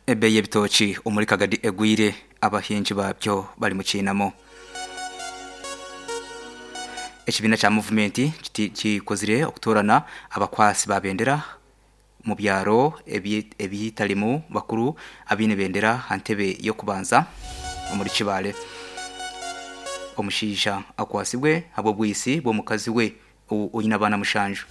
Ebeeyi y'ebitookye omuri Kagadi egwire, abahingi baabyo bari mu kiinamo. Ekibiina kya Muvumenti kikozire okutoorana abakwatsi ba bendera omu byaro ebitarimu bakuru abaine bendera aha ntebe y'okubanza omuri Kibaale. Omushaija akwatsibwe ahabw'obwitsi bw'omukazi we oine abaana mushanju.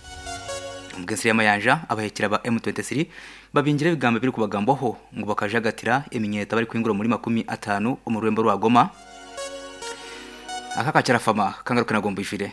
Omu g'ensiri y'amayanja, abahekyera ba M23 babingire ebigambo ebirikubagambwaho ngu bakajagatira eminyeeto abarikuhingura omuri 50 omu rurembo rwa Goma. Aka akakyarafama kangaruke nago mbwijwire.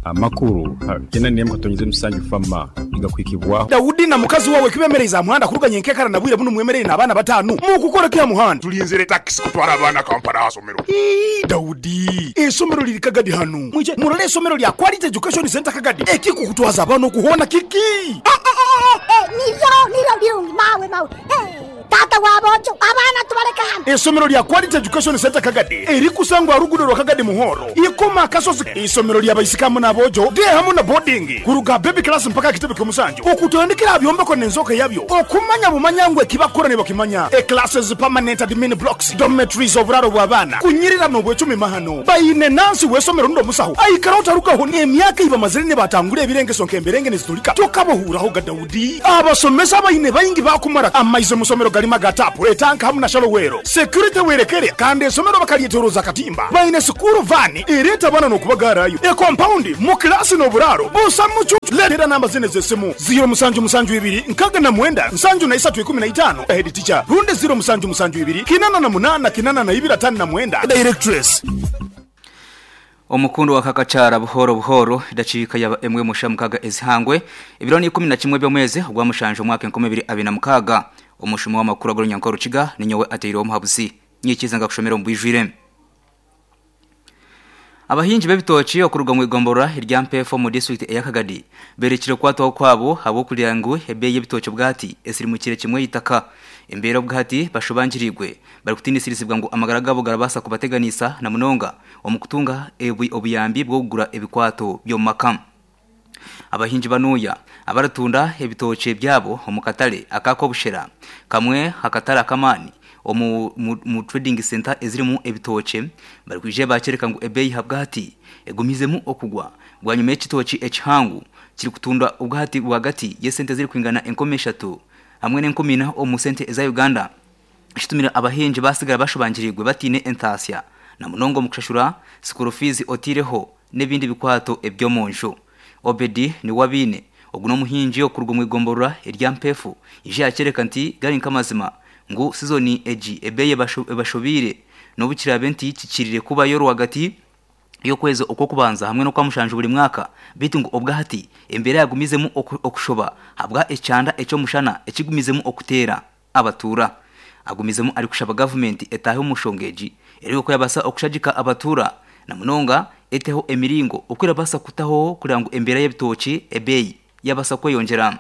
Amakuru gena n'emwe katonyeze musanju fama nigakuhikibwaho. Daudi na mukazi wawe kibemereize aha muhanda kuruga nyenkekara na bwire bunu mwemereire n'abaana batanu. Mukukora ki aha muhanda? Tulinzire takisi kutwara abaana Kampala aha somero. Ii, Daudi, eisomero liri Kagadi hanu. Mwije murole eisomero lya Quality Education Centre Kagadi. Ekikukutwaza abaana oku hoona kiki? Eh, eh, eh, eh, niryo, niryo birungi, mawe, mawe. Eh, taata wa boojo, abaana tubaleke hanu. Eisomero lya Quality Education Centre Kagadi erikusangwa aha ruguudo rwa Kagadi Muhoro, Ikoma Akasozi. Eisomero lya baisiki hamu n'aboojo, day hamu na boarding, kuruga aha baby class mpaka aha kitebe ky'omusanju, okutandikira aha byombeko n'enzooka yabyo, okumanya bumanya ngu eki bakukora nibakimanya, e classes, permanent admin blocks, dormitories, oburaaro bw'abaana, kunyirira n'obwecumi mahano. Baine nansi w'eisomero rundi omusaho aikara otarugaho n'emyaka ei bamazire nibatangura ebirengeso nk'emberenge niziturika tokabohuuraho ga Daudi. Abasomesa abaine baingi baakumara amaizi omu somero garimu aga taapu, etanka hamu na shalowero. Security werekere kandi eisomero bakaryetoroza akatimba. Baine sikuuru vaani ereeta abaana n'okubagaarayo, ekompaundi, mu kilaasi n'oburaaro busa mucucu. Leetera namba zinu ez'esimu, ziiro musanju musanju ibiri nkaaga na mwenda nsanju na isatu ikumi na itaano, Head teacher, rundi ziiro musanju musanju ibiri kinana na munaana kinana na ibiri ataano na mwenda, Directress. Omukundu wa Kakakyara buhooro buhooro edakiika yaba emwe musha mukaga ezihangwe ebiro ni 11 by'omwezi ogwa mushanju omwaka 2026. Omushumi w'amakuru ag'orunyanka orukiga ninyowe ateireho omuhabuzi. Nyikiize nkakushomera omu bwijwire. Abahingi b'ebitookye okuruga omu igomborora erya Mpeefu omu disiturikiti eya Kagadi beerekire okukwatwaho kwabo ahabw'okugira ngu ebeeyi y'ebitookye obwahati esirimukire kimwe eitaka. Embeera obwahati bashobangiriirwe barikutiinisirizibwa ngu amagara gaabo garabaasa kubateganiisa na munonga omu kutunga obuyambi bw'okugura ebikwato by'omu maka. Abahingi banuya abaritunda ebitookye byabo omu katare aka Kobushera, kamwe aha katare ak'amaani omu trading centre ezirimu ebitookye, barikwija bakyoreka ngu ebeeyi ahabwahati egumizemu okugwa bwanyima y'ekitookye ekihango kirikutundwa obwahati rwagati y'esente ezirikwingana 3000 hamwe na 4000 omu sente eza Uganda. Ekitumire abahingi basigara bashobangiriirwe bataine entaasya na munonga omu kushashura sikuru fiizi otaireho n'ebindi bikwato eby'omu nju. Obedi Niwabiine, ogu n'omuhingi okuruga omu igomborora erya Mpeefu, ija yakyoreka nti gari nk'amazima ngu sizoni egi ebeeyi ebashobeire n'obu kiraabe nti kikirire kubayo rwagati y'okwezi okw'okubanza hamwe n'okwamushanju buri mwaka beitu ngu obwahati embeera yagumizemu okushoba ahabwa ekyanda eky'omushana ekigumizemu okuteera. abatuura. Agumizemu arikushaba gavumenti etaahe omu nshonga egi ereebe oku yabaasa okushagika abatuura na munonga eteho emiringo oku erabaasa kutaho kureba ngu embeera y'ebitookye ebeeyi yabaasa kweyongyera.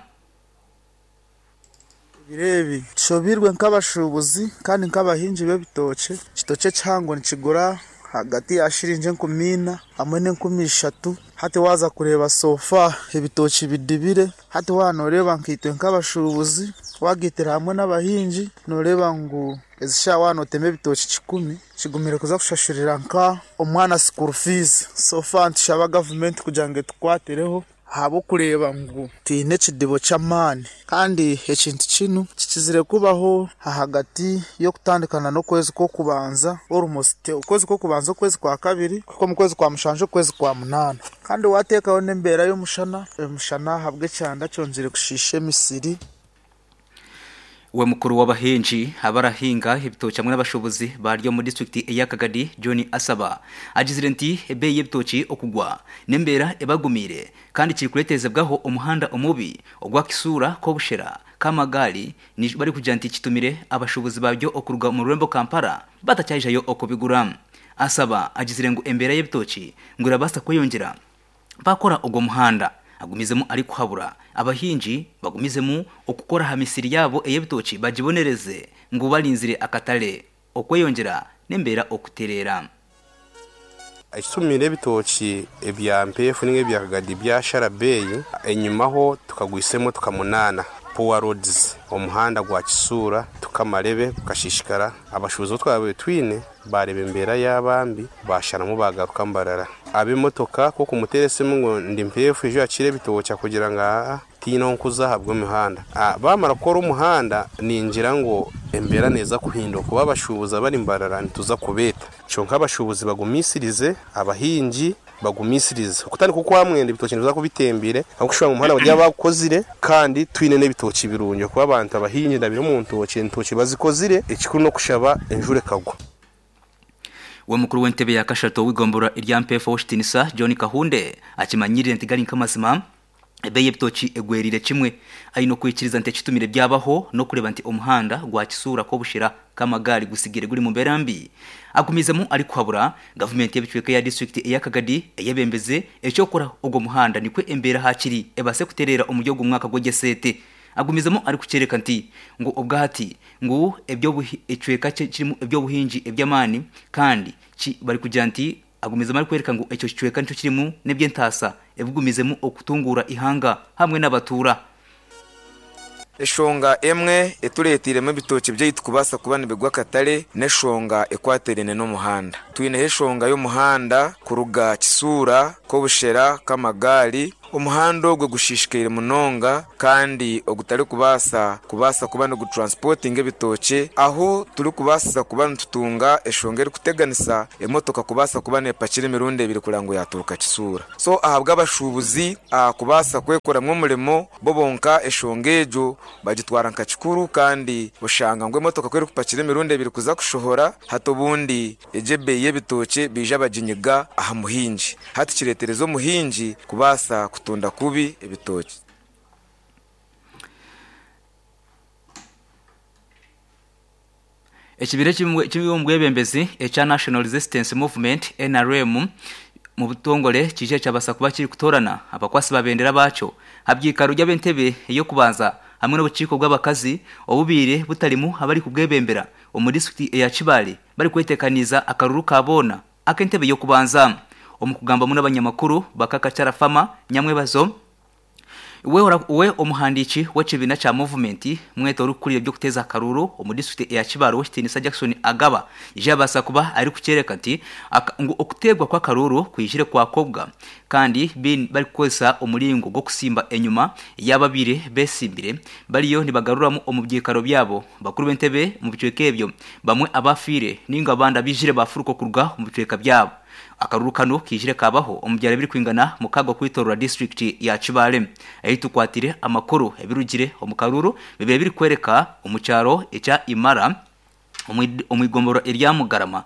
Ebiro ebi tushobeirwe nk'abashuubuzi kandi nk'abahingi b'ebitookye. Ekitookye ekihango nikigura ahagati ya shiringi 4000 hamwe na 3000. Hati waaza kureeba so far ebitookye bidibire. Hati waaba nooreeba nkaitwe nk'abashuubuzi, waagaitira hamwe n'abahingi, nooreeba ngu ezi shaaha waaba nootema ebitookye kikumi, kigumire kuza kushashurira nka omwana school fees. So far nitushaba gavumenti kugira ngu etukwatireho ahabw'okureeba ngu twine ekidibo ky'amaani. Kandi ekintu kinu kikizire kubaho ahagati y'okutandikana n'okwezi kw'okubanza, almost okwezi kw'okubanza okwezi kwa kabiri kuhika omu kwezi kwa mushanju okwezi kwa munaana. Kandi waateekaho n'embeera y'omushana, omushana ahabw'ekyanda kyongyire kushiisha emisiri. We mukuru w'abahingi abarahinga ebitookye hamwe n'abashuubuzi bari omu disiturikiti eya Kagadi, John Asaba agizire nti ebeeyi y'ebitookye okugwa n'embeera ebagumiire kandi kirikureeterezebwaho omuhanda omubi ogwa Kisuura Kobushera Kamagaali barikugira nti kitumire abashuubuzi babyo okuruga omu rurembo Kampala batakyaijayo okubigura. Asaba agizire ngu embeera y'ebitookye ngu erabaasa kweyongyera baakora ogwo muhanda. Agumizemu arikuhabura abahingi bagumizemu okukora aha misiri yaabo ey'ebitookye bagibonereze ngu barinzire akatare okweyongyera n'embeera okutereera. Ekitumire ebitookye ebya Mpeefu ninga ebya Kagadi byashara beeyi, enyimaho tukagwisa emotoka munaana. Poor roads, omuhanda gwa Kisuura to Kamarebe gukashishikara, abashuubuzi abu twabaire twine baareeba embeera yaaba mbi baasharamu baagaruka Mbarara. Ab'emotoka ku okumuteera esimu ngu ndi mpeefu ija oyakire ebitookye akugira ngu aa tihaine ahu nkuza ahabw'emihanda. Baamara kukora omuhanda ningira ngu embeera neeza kuhinduka kuba abashuubuzi abari Mbarara nituza kubeeta. Kyonka abashuubuzi bagumisirize, abahingi bagumisirize. Okutandika okwa mwenda ebitookye nibiza kuba bitembire ahabw'okushusha ngu omuhanda bari bagukozire kandi twine n'ebitookye birungi ahakuba abantu abahingi ndabire omu ntookye, entookye bazikozire ekikuru n'okushaba enjura ekagwa. We mukuru w'entebe ya kashatu ow'eigomborora erya Mpeefu Ow'ekitinisa John Kahunde akimanyirire nti gari nk'amazima ebeeyi y'ebitookye egweriire kimwe. Aine okwikiriza nti ekitumire byabaho n'okureeba nti omuhanda gwa Kisuura Kobushera Kamagaari gusigire guri mu mbeera mbi. Agumizemu arikuhabura gavumenti y'ebicweka eya disiturikiti eya Kagadi eyebembeze eky'okukora ogwo muhanda nikwo embeera hakiri ebaase kutereera omuri ogu mwaka gw'egyesente. Agumizemu arikukyoreka nti ngu obwahati ngu ekicweka kye kirimu eby'obuhingi eby'amaani kandi ki barikugira nti Agumizemu arikworeka ngu ekyo kicweka nikyo kirimu n'eby'entaasa ebigumizemu okutunguura eihanga hamwe n'abatuura. Eshonga emwe etureeteiremu ebitookye byaitu kubaasa kuba nibigwa akatare n'eshonga ekwatiraine n'omuhanda. Twineho eshonga y'omuhanda kuruga Kisuura, Kobushera, Kamagaari. Omuhanda ogwo gushiishikaire munonga kandi ogutarikubaasa kubaasa kuba nigutransportinga ebitookye ahu turikubaasiza kuba nitutunga eshonga erikuteganisa emotoka kubaasa kuba nepakira emirundi ebiri kureba ngu yaturuka Kisuura. So ahabw'abashuubuzi kubaasa kwekoramu omurimo bo bonka eshonga egyo bagitwara nka kikuru kandi oshanga ngu emotoka ku erikupakira emirundi ebiri kuza kushohora hati obundi Egyo ebeeyi y'ebitookye baija baginyiga aha muhingi. Hati kireetereza omuhingi kubaasa kutunda kubi ebitookye. Ekibiina eky'omu bwebembezi ekya National Resistance Movement, nrm, mu butongore kiija kyabaasa kuba kirikutoorana abakwasi ba bendera baakyo aha byikaro by'ab'entebe ey'okubanza hamwe n'obukiiko bw'abakazi obubaire butarimu abarikubwebembera omu disiturikiti eya Kibaale barikweteekaniiza akaruru ka boona ak'entebe y'okubanza. Omu kugambamu n'abanyamakuru ba Kakachara Farmer Nyamwebazo, we we omuhandiiki w'ekibiina kya Movement mwete orikukurira eby'okuteeza akaruru omu disiturikiti eya Kibaale Owekitiinisa Jackson Agaba yaija yabaasa kuba arikukyoreka nti ngu okuteegwa kw'akaruuru kwijire kwakobwa kandi barikukozesa omuringo gw'okusimba enyima y'ababaire besimbire bariyo nibagaruramu omu byikaro byabo Bakuru b'entebe omu bicweka ebyo, bamwe abaafiire nainga abandi abaijire baafuruka okuruga omu bicweka byabo. Akaruru kanu kaijire kaabaho omu byaro ebirikwingana mukaaga okwetoorora disiturikiti ya Kibaale. Ahi tukwatire amakuru ebirugire omu karuru bibaire birikworeka omu kyaro ekya Imara omu igomborora erya Mugarama,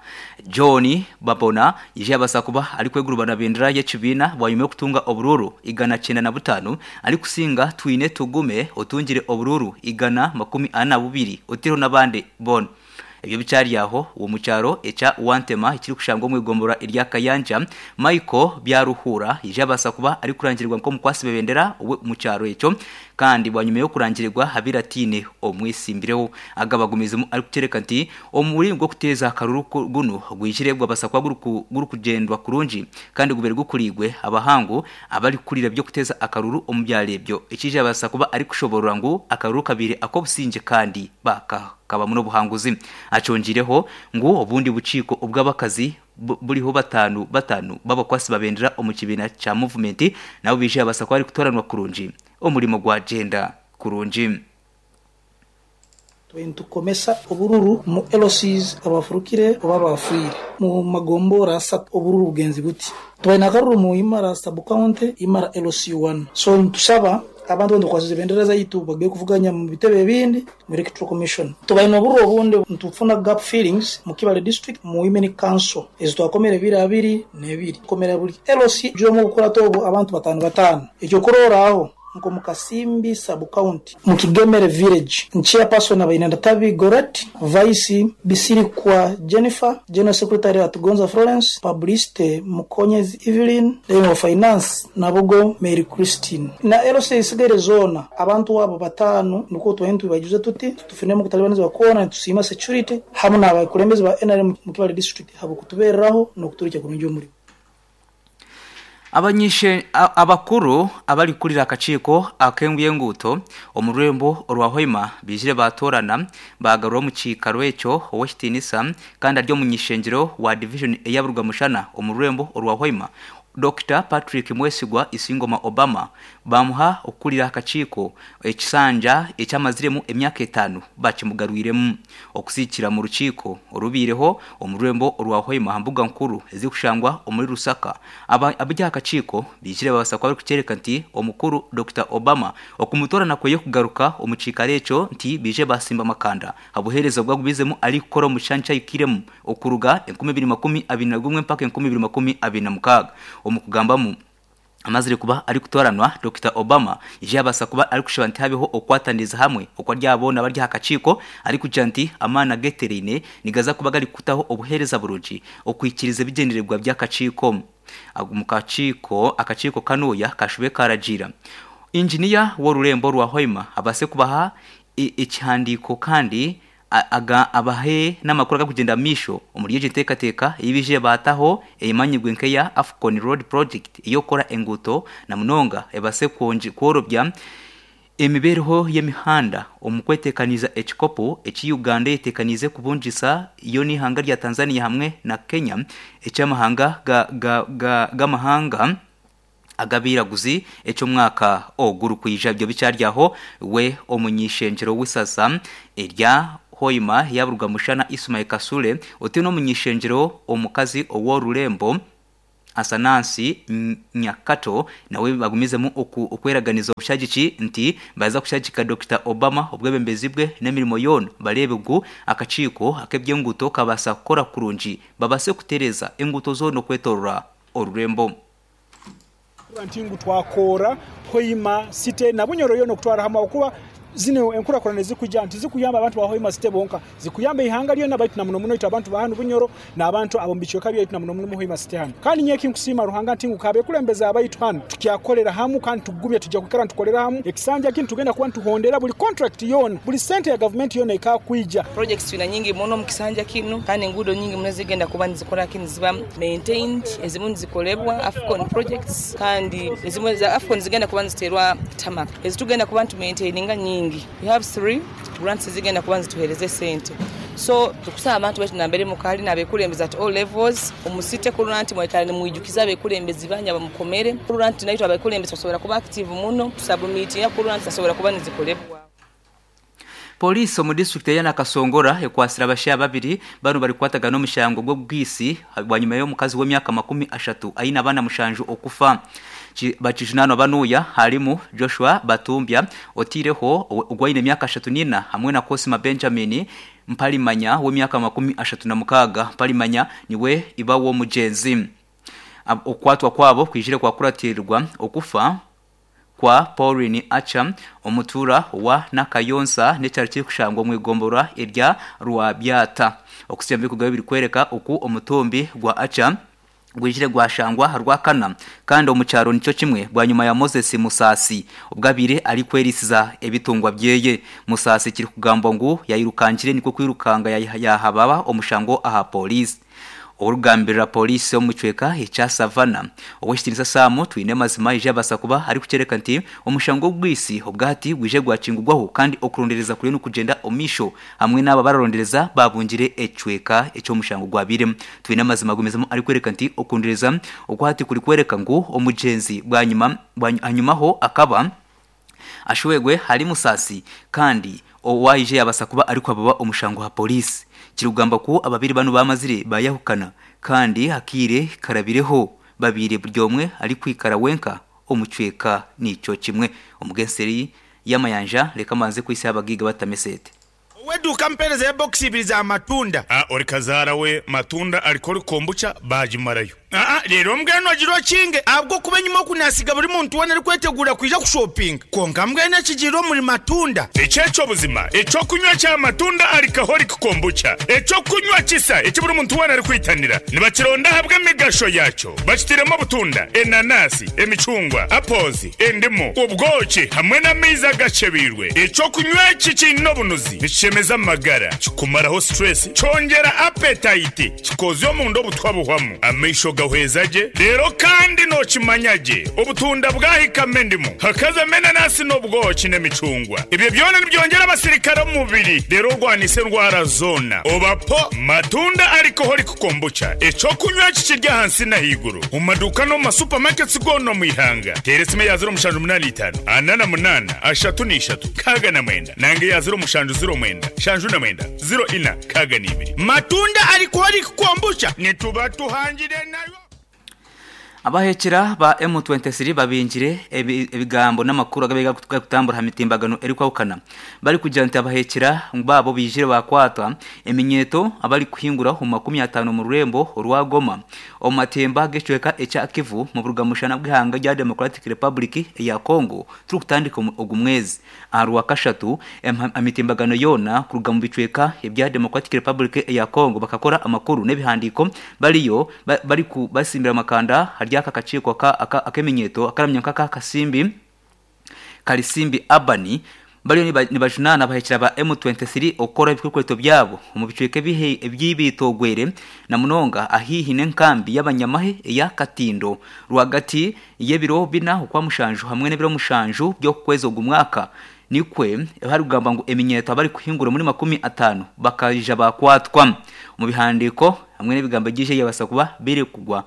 John Babona yaija yabaasa kuba arikwegurubana na bendera y'ekibiina bwanyima y'okutunga oburuuru 195 arikusinga Twine Tugume otungire oburuuru 142 otaireho n'abandi boona. Ebyo bikyari aho, ow'omu kyaro ekya Wantema ekirikushangwa omu igomborora erya Kayanja, Michael Byaruhura yaija yabaasa kuba arikurangirirwa nk'omukwasi bebendera ow'omu kyaro ekyo kandi bwanyima y'okurangirirwa abaire ataine omwetsimbireho. Aga bagumiizemu arikukyoreka nti Omuringo gw'okuteeza akaruru gunu gwijire gwabasa kuba gurikugyendwa kurungi kandi gubaire gukuriirwe abahangu abarikukurira eby'okuteeza akaruru omu byaro ebyo. Ekiija yabaasa kuba arikushoboorora ngu akaruru kabaire ak'obusingye kandi kabamu n'obuhanguzi. Akyongiireho ngu obundi bukiiko obw'abakazi buriho bataanu bataanu b'abakwasi ba bendera omu kibiina kya Movement nabo baija yabaasa kuba barikutooranwa kurungi omurimo gwagyenda kurungi. Twine nitukomesa obururu omu LCs abafurukire oba abafiire mu magombora asatu obururu bugenzi buti. Twaine akaruru mu Imara sub county, Imara LC one. So nitushaba abantu abu tukwasize bendera zaitu bagye kuvuganya mu bitebe ebindi mu Electoral Commission. Tubaine obururu obundi nitufuna gap fillings mu Kibale district mu Women Council ezi twakomere ebiro abiri n'ebiri. Tukomera buri LC omwe obukurata obu abantu batano batano. Ekyokurorraho. Nk'omu Kasimbi Sub-County, mu Kigemere Village, Chairperson abaine Ndatabi Gorret, Vice Bisirikwa Jennifer, General Secretary Atugonza Florence, Publicity Mukonyezi Evelyn, then owa Finance Nabugo Mary Christine. Na LC ezisigaire zoona abantu abo bataano nikwo twahine nitubaijuza tuti tufuniremu okutalibanizibwa kwona nitusiima security hamu n'abakulembeze ba nrm mu Kibale District ahabw'okutubereraho n'okuturikya kurungi omurimo. Abanyishe abakuru abarikurira akakiiko ak'engu y'enguuto omu rurembo orwa Hoima baijire baatorana baagarura omu kiikaro ekyo ow'ekitiinisa kandi ari omuny'ishengyero wa divijoni eya Burugwamushana omu rurembo orwa Hoima, Dokita Patrick Mwesigwa Isingoma Obama baamuha okukurira akakiiko ekisanja eki amaziremu emyaka etaano bakimugarwiremu. Okusiikira mu rukiiko orubaireho omu rurembo orwa Hoima aha mbuga nkuru ezirikushangwa omuri Lusaka, abari aha kakiiko baijire babaasa kuba barikukyoreka nti omukuru Dokita Obama okumutoorana kweye kugaruka omu kiikaro ekyo nti baije baasimba amakanda aha buheereza obu agumiizemu arikukora omu kishangye eki ahikairemu okuruga 2021 mpaka 2026. Omu kugambamu. Amazire kuba arikutooranwa, Dokita Obama yaija yabaasa kuba arikushaba nti habeho okukwataniriza hamwe okwari aha boona abari aha kakiiko arikugira nti amaani agetereine nigaza kuba garikutaho obuheereza burungi okuhikiriza ebigyendererwa by'akakiiko. Omu kakiiko akakiiko kanuya kashube karagiira Inginiya w'orurembo rwa Hoima abaase kubaha ekihandiiko kandi Aga abahe n'amakuru agarikugyenda omu maisho omuri egyo nteekateeka ei baijire baataho emanyirwe nk'eya Afcon Road Project ey'okukora enguuto na munonga ebaase kworobya emibeereho y'emihanda omu kweteekaniiza ekikopo eki Uganda eyeteekaniize kubungisa yo n'eihanga rya Tanzania hamwe na Kenya eky'amahanga g'amahanga ag'abairaguzi eky'omwaka ogurikwija. Ebyo bikyari aho, we omuny'ishengyero w'isaza erya Hoima yaburwa Mushana Ismail Kasule otaine omuny'ishengyero omukazi ow'orurembo Asanansi Nyakato nawe bagumizemu okweraganiza obushagiki nti baza kushagika Dokita Obama obwebembezi bwe n'emirimo yoona bareebe ngu akakiiko ak'eby'enguuto kabaasa kukora kurungi babaase kutereeza enguuto zoona okwetorora orurembo. Kuba nti ngu twakoora Hoima City na Bunyoro yoona okutwara hamwe ahabw'okuba zinu enkurakurana ezirikwija tizikuyamba abantu ba Hoima City bonka, zikuyamba eihanga ryona baitu na muno muno itwe abantu ba hanu Bunyoro n'abantu ab'omu bicweka byaitu na muno muno Hoima City hanu. Kandi nyowe ekinkusiima Ruhanga nti ngu k'abekulembeze abaitu hanu tukyakorera hamu kandi tugumye tugya kwikara nitukorera hamu ekisanja kinu tugenda kuba nituhondera buli contract yoona, buli sente ya gavumenti yoona ekakwija. Projects twina nyingi muno omu kisanja kinu kandi enguudo nyingi muno ezigenda kuba nizikora ki niziba maintained, ezimu nizikolebwa Afcon projects kandi ezimwe za Afcon zigenda kuba niziterwa tarmac. Ezitugenda kuba nitu maintaininga nyingi. We have three grants ezigenda kuba nizituhereza esente. So tukusaba abantu baitu nambere mukali nabekulembeze at all levels omu city kurora nti mwaikara nimwijukiza abekulembezi banyu abamukomere kurora nti naitwe abekulembezi tusobora kuba active muno tusubmitinga kurora nti zisobora kuba nizikolebwa. Pooriisi omu disiturikiti eya Nakasongora ekwatsire abashaija babiri banu barikukwatagana omushango gw'obwitsi bwanyima y'omukazi w'emyaka 30 aine abaana mushanju okufa. Bakijunaanwa banuya harimu Joshua Batumbya oteireho ogu aine emyaka 34 hamwe na Cosma Benjamin Mparimanya w'emyaka 36. Mparimanya niwe iba w'omugyenzi. Okukwatwa kwabo kwijire kwakuratirirwa okufa kwa Pauline Acha, omutuura wa Nakayonsa n'ekyaro kirikushangwa omu igomborora erya Rwabyata. Okutsya omu bikugabe birikworeka oku omutumbi gwa Acha gwijire gwashangwa aha Rwakana kandi omu kyaro nikyo kimwe bwanyima ya Moses Musaasi obwo abaire arikwerisiza ebitungwa byeye. Musaasi kirikugambwa ngu yayirukangire nikwo kwirukanga yahababa omushango aha pooriisi. Orikugambirira Pooriisi omu kicweka ekya Savannah, Ow'ekitiinisa Sam Twinemazima aija yabaasa kuba arikukyoreka nti omushango gw'obwitsi obwahati gwije gwakingurwaho kandi okurondereza kuriyo nikugyenda omu maisho hamwe n'abo abararondereza babungire ekicweka eki omushango gwabairemu. Twinemazima agumizamu arikworeka nti okurondereza okwahati kurikworeka ngu omugyenzi bwanyima ahanyumaho akaba Ashwegwe hari Musasi kandi owaije yabasa kuba arikuhababa omushango aha poliisi. Kirikugambwa ku ababiri banu bamazire bayahukana kandi akaire karabireho babaire buri omwe arikwikara wenka omu kicweka nikyo kimwe. Omugenseri y'amayanja reka mbanze kwitsya abagaiga batamesete. Ow'eduuka ampeereza ebokisi ibiri za matunda. A Ori kazaara we matunda ariko ori kombucha baagimarayo. Aa Reero mbwenu ogire okinge ahabw'okuba enyima oku naasiga buri muntu weena arikweteguura kwija kushopinga. Kwonka mbwenu ekigiire omuri matunda. Eki eky'obuzima, eky'okunywa kya matunda Alcoholic Kombucha, eky'okunywa kisa eki buri muntu weena arikwitanira. Nibakironda ahabw'emigasho yaakyo. Bakitairemu obutunda, enanasi, emicungwa, apples, endimu, obwoki hamwe n'amaizi agakyebeirwe. Eky'okunywa eki kiine obunuzi, nikishemeza amagara, kikumaraho stress, kyongyera appetite, kikoozya omunda obutwa buhwamu, amaisho ga. Nigahweza gye reero kandi nookimanya gye obutunda bwahikamu endimu, hakazamu enanasi n'obwoki n'emicungwa. Ebyo byona nibyongyera abasirikare omu mubiri reero orwanise endwara zoona. Oba po Matunda Alcoholic Kombucha, eky'okunywa eki kiri ahansi n'ahaiguru omu maduuka n'omu ma supermarkets goona omu ihanga. Teera esimu eya 0785 48 33 69 nanga eya 0709 79 04 62. Matunda Alcoholic Kombucha nituba tuhangire nayo. Abahekyera ba M23 babingire ebigambo n'amakuru agabaire garikutambura aha mitimbagano erikwahukana barikugira nti abahekyera baabo baijire bakwatwa eminyeeto abarikuhingura omu 50 omu rurembo orwa Goma omu matemba g'ekicweka ekya Kivu mu buruga-mushana bw'eihanga rya Democratic Republic eya Congo turikutandika ogu mwezi. Aha Rwakashatu, emitimbagano yoona kuruga omu bicweka ebya Democratic Republic eya Congo bakakora amakuru n'ebihandiiko bariyo barikubasimbira amakanda ahari aka kakiiko ak'eminyeeto akaramanywa nka aka Kasimbi Kalisimbi Urban bariyo nibajunaana abahekyera ba M23 okukora ebikwekweto byabo omu bicweka eby'eby'eitoogwere na munonga ahaihi n'enkambi y'abanyamahe eya Katindo rwagati y'ebiro bina Okwamushanju hamwe n'ebiro mushanju by'okukwezi ogu mwaka nikwe harikugambwa ngu eminyeeto abarikuhingura omuri 50 bakaija bakwatwa. Omu bihandiiko hamwe n'ebigambo ebyija ebyabasa kuba birikugwa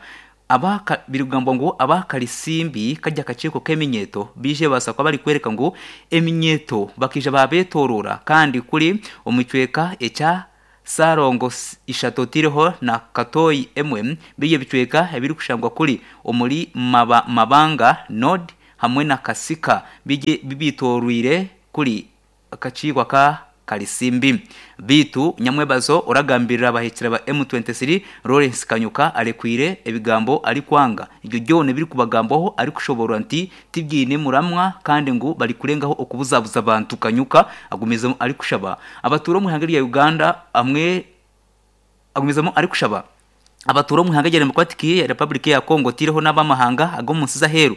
aba birikugambwa ngu aba Karisimbi kari akakiiko k'eminyeeto baije babaasa kuba barikworeka ngu eminyeeto bakaija babetorora kandi kuri omu kicweka ekya Sarongo ishatu otaireho na Katooyi emwe biri ebicweka ebirikushangwa kuri omuri Mabanga Nord hamwe na Kasika bibitorweire kuri akakiiko aka Karisimbi. Beitu nyamwebazo oragambirira abahikire ba M23 Lawrence Kanyuka arekwire ebigambo arikwanga ebyo byona ebirikubagambwaho arikushoborora nti tibyine muramwa kandi ngu barikurengaho okubuzabuza abantu. Kanyuka agumizemu arikushaba abatuura omu ihanga rya Uganda hamwe agumizemu arikushaba abatuura omu ihanga rya Democratic Republic ya Congo otaireho n'abamahanga ag'omu nsi z'aheeru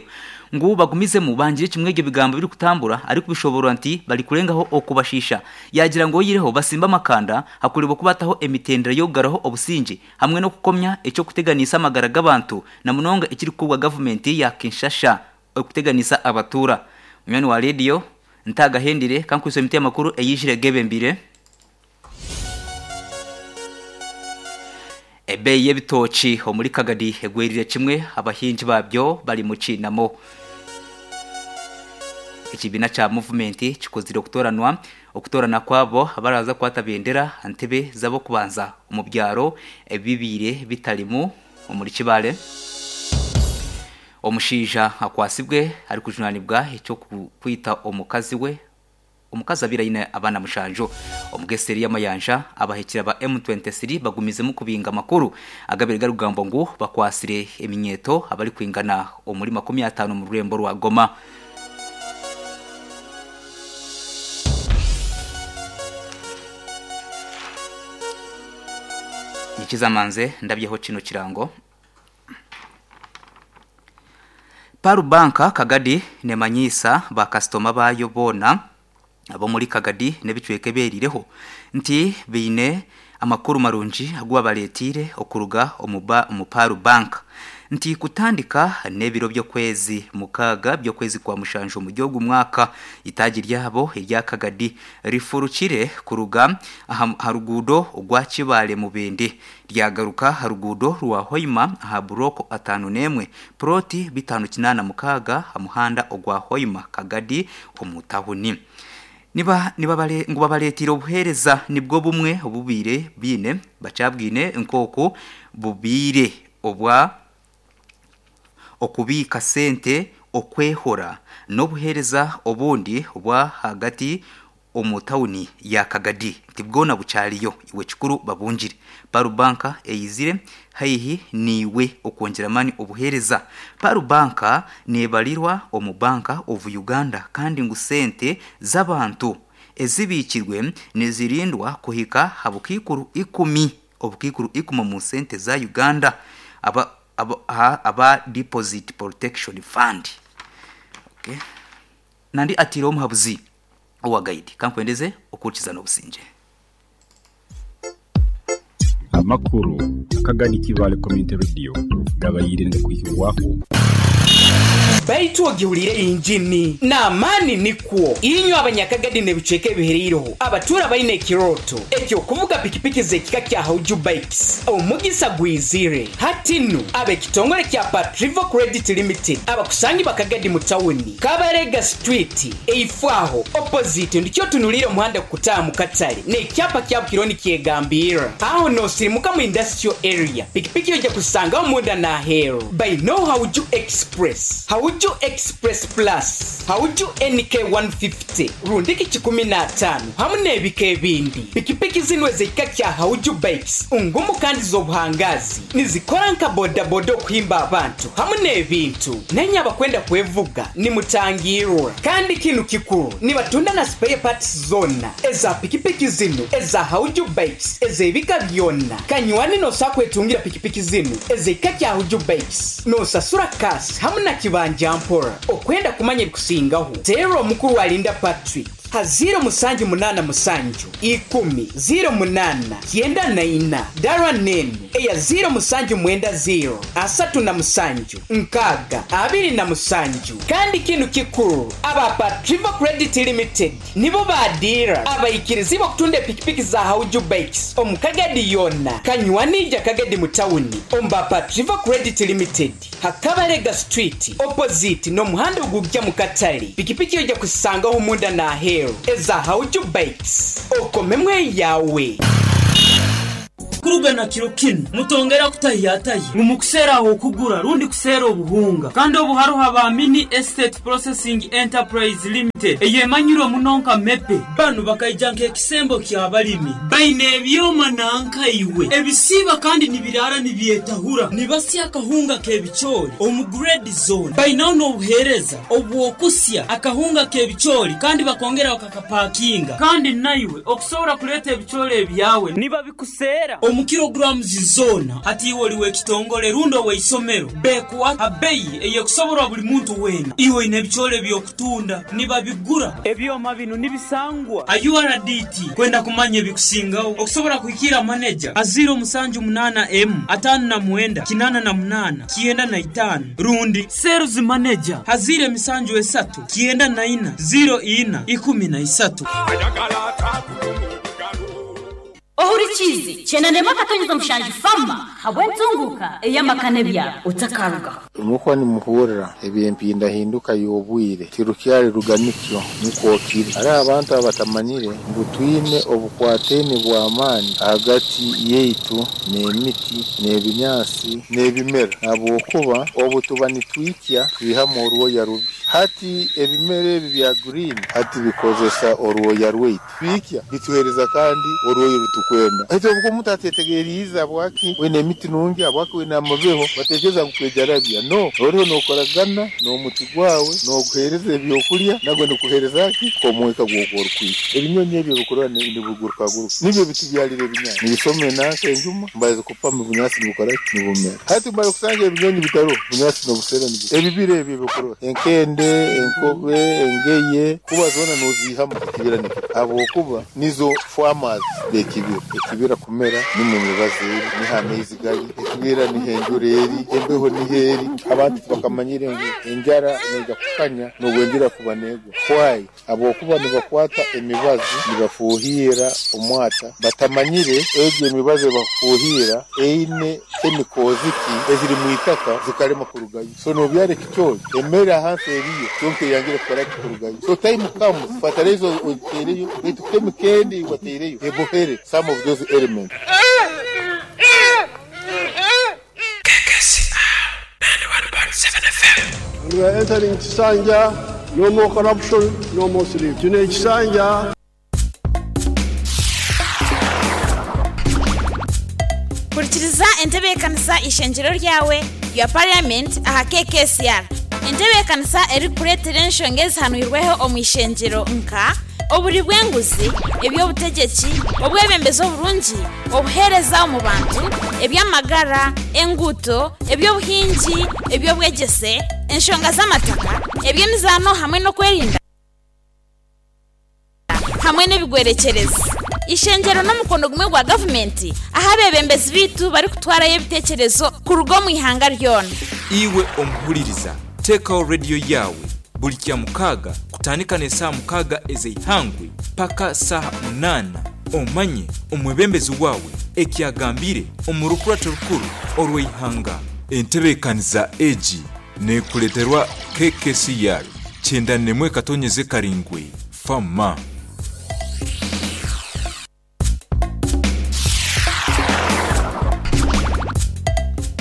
ngu bagumizemu bangire kimwe ebyo bigambo ebirikutambura arikubishoboorora nti barikurengaho okubashiisha. Yaagira ngu oihireho basimbe amakanda hakureebwa oku baataho emitendera y'okugaraho obusingye hamwe n'okukomya eky'okuteganiisa amagara g'abantu na munonga ekirikukorwa gavumenti ya Kinshasha okuteganiisa abatuura. Munywani wa rediyo Ntagahendire kankwitse emiti y'amakuru eyaijire gebembire. Ebeeyi y'ebitookye omuri Kagadi egwerire kimwe, abahingi baabyo bari mu kiinamo. Ekibiina kya Movement kikozire okutoranwa okutoorana kwabo abaraaza kukwata bendera aha ntebe z'ab'okubanza omu byaro ebibaire bitarimu omuri Kibaale. Omushaija akwatsibwe arikujunaanibwa eky'okwita omukazi we. Omukazi abaire aine abaana mushanju. Omu geseri y'amayanja, abahikire ba M23 bagumizemu kubinga amakuru agabaire garikugambwa ngu bakwatsire eminyeeto abarikwingana omuri 50 omu rurembo rwa Goma. Nyikiza manze ndabyeho kino kirango. Pearl Bank Kagadi nemanyiisa ba kasitoma baayo boona ab'omuri Kagadi n'ebicweka ebyeriireho nti baine amakuru marungi agu babareeteire okuruga omu Pearl Bank nti kutandika n'ebiro by'okwezi mukaaga by'okwezi kwa mushanju omuri ogu mwaka eitaagi ryabo erya Kagadi rifurukire kuruga aha ruguudo orwa Kibaale Mubende Ryagaruka aha ruguudo rwa Hoima aha burooko 51, purooti 586 aha muhanda ogwa Hoima Kagadi omu tahuni. Niba nibabare ngu babareeteire obuheereza nibwo bumwe obubaire baine bakyabwine nk'oku bubaire obwa okubiika sente, okwehora n'obuheereza obundi obwa ahagati omu tauni ya Kagadi nti bwona bukyariyo iwe kikuru babungire. Pearl Bank eyizire haihi naiwe okwongyera amaani obuheereza. Pearl Bank nebarirwa omu Bank of Uganda kandi ngu sente z'abantu ezibiikirwe nizirindwa kuhika aha bukaikuru ikumi obukaikuru ikumi omu sente za Uganda aba aba Deposit Protection Fund. Okay. Nandi ataireho omuhabuzi owa guide. Kankwendeze okuhurikiza n'obusingye. Amakuru. Kagadi Kibaale Community Radio gabaire nigakwihibwaho. Baitu ogihuriire yingini n'amaani nikwo. Inywe Abanyakagadi n'ebicweka ebihereireho abatuura baine ekirooto eky'okuvuga pikipiki z'ekika kya Hauju Bikes, omugisa gwizire. Hati nu, ab'ekitongore kya Patrivo Credit Limited abakusangibwa Kagadi mu tawuni, Kabarega Street, eifo aho, opposite, ndikyo otunuliire omuhanda gukutaaha mu katale n'ekyapa kya Bukironi kyegambirra. Aho n'osirimuka mu Industrial Area, pikipiki oija kuzisangaho munda n'aheeru. Baineo Hauju Express, Hauju Express Plus, Hauju NK 150 rundiki 150 hamu n'ebika ebindi. Pikipiki zinu ez'ekika kya Hauju Bikes ngumu kandi z'obuhangaazi. Nizikora nka bodaboda okuhimba abantu hamu n'ebintu. Nainye abakwenda kwevuga nimutangiirwa. Kandi kinu kikuru, nibatunda na spare parts zoona eza pikipiki zinu eza Hauju Bikes ez'ebika byona. Kanywani nosobola kwetungira pikipiki zinu ez'ekika kya Hauju Bikes nosasura cash hamu na kibanja mpora. Okwenda kumanya ebikusingaho, teera omukuru Alinda Patrick ha ziiro musanju munaana musanju, ikumi, ziiro munaana, kyenda na ina, dara n'enu eya ziiro musanju mwenda ziiro, 37, 60, 27. Kandi kinu kikuru, aba Patrivo Credit Limited nibo ba diira abaikirizibwe okutunda epikipiki za Hauju Bikes omu Kagadi yoona. Kanywani ija Kagadi mu tawuni omu ba Patrivo Credit Limited. Ha Kabalega Street opposite n'omuhanda ogugya mu katale, pikipiki oija kuzisangaho munda n'aheeru eza Hauju Bikes. Okomemu eyawe. Kuruga na kiro kinu, mutongera kutahiyatahya ngu mukuseera ah'okugura rundi kuseera obuhunga. Kandi obu haroho aba Mini Estate Processing Enterprise Limited eyemanyirwe muno nka MEPE. Banu bakaija nk'ekisembo ky'abalimi. Baine ebyoma nanka iwe ebisiiba kandi nibiraara nibyetahura, nibasya akahunga k'ebicoori omu grade zoona. Bainaho n'obuheereza obw'okusya akahunga k'ebicoori kandi bakongera bakakapakinga. Kandi naiwe okusobora kuleeta ebicoori ebyawe nibabikuseera omu kilograms zoona. Hati iwe oli w'ekitongole rundi ow'eisomero, beekuha ha beyi ey'ekusoborwa buli muntu weena. Iwe oine ebicoori eby'okutunda, nibabigura. Ebyoma binu nibisangwa ha URDT. Kwenda kumanya ebikusingaho, okusobora kuhikiira maneja ha 078 emu 59 88 95 rundi Sales Manager ha 073 94 04 13. Ohurikiize, Kyenda n'emwe akatonyeza mushanju Fama habw'entunguuka ey'amaka n'ebyaro. Otakarugaho. Mukwa nimuhurira eby'empindahinduka y'obwire tirukyali ruganikyo nikwo kiri. Hariho abantu abatamanyire ngu twine obukwataine bw'amaani ahagati yaitu n'emiti n'ebinyaasi n'ebimera ahabw'okuba obu tuba nitwikya twihamu orwoya rubi. Hati ebimera ebi bya green hati bikozesa orwoya rwaitu biikya bituheereza kandi orwoya orutukwenda. Hati obu omuntu atetegeriize habwaki wine emiti nungi habwaki wine amabeho bateekereza ngu kwejarabya no oriho nookoragana n'omuti gwawe nooguheereza ebyokurya nagwo nigukuheereza ki omwika gw'okuba orikwikya. Ebinyonyi ebyo ebikurora nibigurukaguruka nibyo bitubyarira ebinyaasi nibisoma enanka enjuma mbaza kupama obunyaasi nibukora ki nibumera. Hati mara kusanga ebinyonyi bitaroho obunyaasi n'obusera nibu ebibira ebi ebikurora enkende, enkobe, engeye kuba zoona nooziihamu ekibira nikyo habwokuba nizo farmers b'ekibira. Ekibira kumera nimwo emibazi eri, niho amaizi gari, ekibira niho enjura eri, embeho niho eri. Abantu tibakamanyire ngu enjara neija kukanya n'obu enjura kuba neegwa. Why? Habwokuba nibakwata emibazi nibafuuhiira omwata batamanyire egyo emibazi ebakufuuhiira eine chemicals ki eziri mu itaka zikarema kurugayo. So nobyara ekicoori emere ahansi eriyo kyonka eyangire kukora ki kurugayo. So time comes fertilizer ogiteireyo baitu chemical endi eyiwateireyo ebohere some of those elements. And we are entering Kisanja, no more corruption, no more sleep. Tune Kisanja. Hurikiriza entebeekanisa Ishengyero ryawe rya Parliament aha KKCR. Entebeekanisa erikukureetera enshonga ezihanwirweho omu ishengyero nka oburi bw'enguzi, eby'obutegyeki, obwebembezi oburungi, obuheereza omu bantu, eby'amagara, enguuto, eby'obuhingi, eby'obwegyese, enshonga z'amataka, eby'emizaano hamwe n'okwerinda hamwe n'ebigwerekyerezi. Ishengero n'omukono gumwe gwa gavumenti ahu abeebembezi baitu barikutwarayo ebiteekyerezo kuruga omu ihanga ryona. Iwe omuhuririza, teekaho rediyo yaawe buri Kyamukaaga kutandika n'esaaha mukaaga ez'eihangwe paka saaha munaana omanye omwebembezi waawe eki agambire omu rukurato rukuru orw'eihanga. Entebeekanisa egi neekureeterwa KKCR 91 katonyeze karingwi Fama.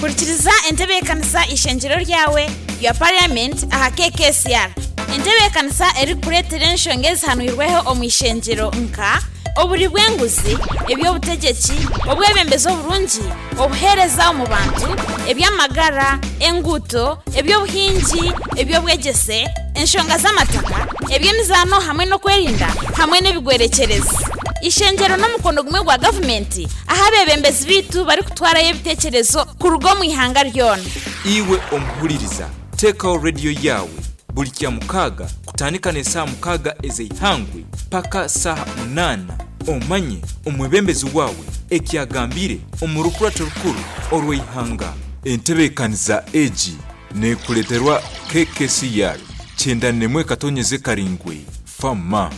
Hurikiriza entebeekanisa Ishengyero Ryawe Your Parliament aha KKCR. Entebeekanisa erikukureetera enshonga ezihanwirweho omu ishengyero nka, oburi bw'enguzi, eby'obutegyeki, obwebembezi oburungi, obuheereza omu bantu, eby'amagara, enguuto, eby'obuhingi, eby'obwegyese, enshonga z'amataka, eby'emizaano hamwe n'okwerinda hamwe n'ebigwerekyerezi. Ishengyero n'omukono gumwe gwa gavumenti ahu abeebembezi baitu barikutwarayo ebiteekyerezo kuruga omu ihanga ryona. Iwe omuhuririza, teekaho rediyo yaawe buri Kyamukaaga kutandika n'esaaha mukaaga ez'eihangwe paka saaha munaana omanye omwebembezi waawe eki agambire omu rukurato rukuru orw'eihanga. Entebeekanisa egi neekureeterwa KKCR 91 katonyeze karingwi, Fama.